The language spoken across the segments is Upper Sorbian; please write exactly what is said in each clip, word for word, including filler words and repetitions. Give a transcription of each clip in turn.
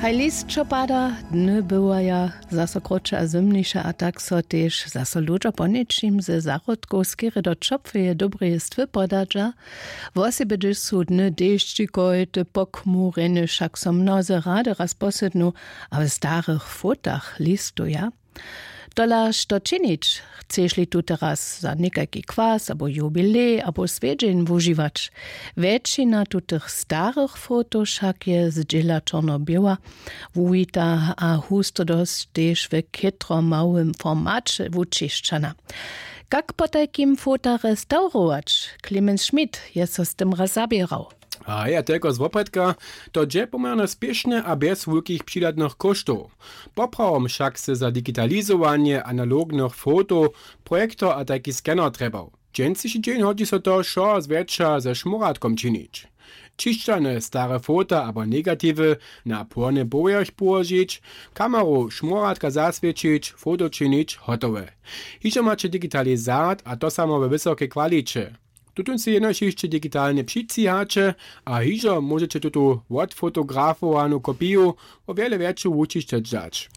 A list, čo pada, dny bywaja zaso krótše a zymniše, a tak so tež zaso ludźo po něčim ze zahrodkow skerje do ćopłeje dobreje stwy podadźa. Wosebje hdyž su dny dešćikojte, pochmurjene, wšak so mnozy rady raz posydnu a w starych fotach listuja. Tola što činić? Chceš-li tute raz za někajki kwas abo jubilej abo swjedźeń wužiwać? Wjetšina tutych starych fotow wšak je zdźěla čorno-běła, wuwita a husto dosć tež w chětro małym formaće wućišćana. Kak potajkim fota restaurować? Clemens Schmidt je so z tym raz zaběrał. A ja telko z wopredka, to dźe poměrnje spěšnje a bjez wulkich přidatnych kóštow. Poprawom wšak sy za digitalizowanje analognych fotow projektor a tajki scanner trjebał. Dźensniši dźeń hodźi so to wšo zwjetša ze šmóratkom činić. Ćišćane stare fota abo negatiwy na płony powjerch połožić, kameru šmóratka zaswěćić, foto činić, hotowe. Hižo maće digitalizat, a to samo we wysokej kwaliće. Tutón sej jenož hišće digitalnje přitřihaće a hižo móžeće tutu wotfotografowanu kopiju wo wjele wjetšu wućišćeć dać.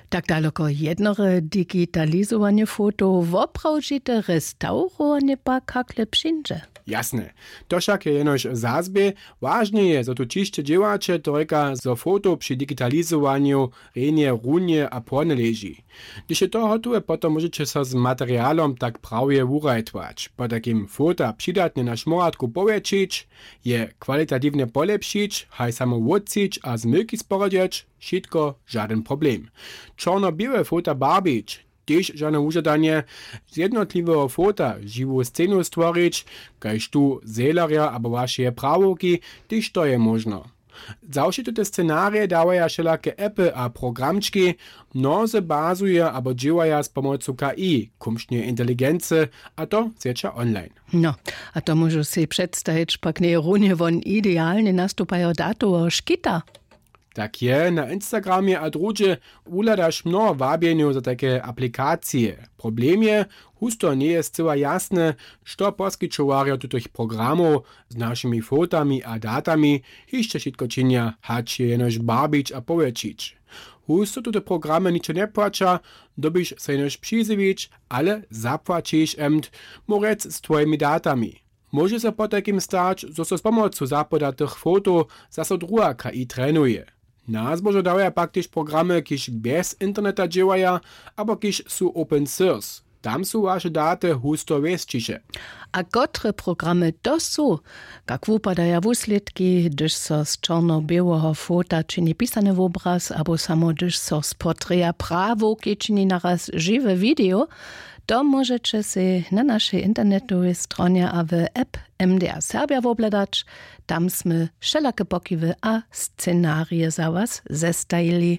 Tak daloko jednore digitalizowanje fotow, woprawdźite restawrowanje pak hakle přińdźe. Jasne. To wšak je jenož w zazbě. Wažne je, zo tu ćišće dźěłaće, to rěka, zo fotow při digitalizowanju rjenje runje a płone leži. Hdyž je to hotowe, potom móžeće so z materialom tak prawje wurajtwać. Potajkim fota přidatnje na šmóratku powjetšić, je kwalitatiwnje polěpšić, haj samo wótřić a zmylki sporadźeć, wšitko žadyn problem. Čorno-běłe fota barbić, tež žane wužadanje. Z jednotliweho fota žiwu scenu stworić, kaž tu zelerja abo wašeje prawowki, tež to je móžno. Za wšě tute scenarije dawaja wšelake appy a programčki. Mnozy bazuja abo dźěłaja z pomocu K I, kumšneje inteligency, a to zwjetša online. No, a to móžu sej předstajić, pak njeje runje won idealnje nastupajo datoweho škita. Tak je, na Instagramje a druhdźe wuhladaš mnoho wabjenjow za tajke aplikacije. Problem je, husto njeje scyła jasne, što poskićowarjo tutych programow z našimi fotami a datami hišće wšitko činja, hač je jenož barbić a powjetšić. Husto tute programy ničo njepłaća, dyrbiš so jenož přizjewić, ale zapłaćiš emt, móhł rjec, z twojimi datami. Móže so potajkim stać, zo so z pomocu zapodatych fotow zaso druha K I trenuje. Na zbožo dawaja pak tež programy, kiž bjez interneta dźěłaja abo kiž su open source. Tam su waše daty husto wěsćiše. A kotre programy to su? Kak wupadaja wuslědki, hdyž so z čorno-běłeho fota čini pisany wobraz abo samo hdyž so z portreja prawowki čini naraz žiwe video? To móžeće sej na našej internetowej stronje a w app M D A Serbja wobhladać. Tam smy wšelake pokiwy a scenarije za was zestajili.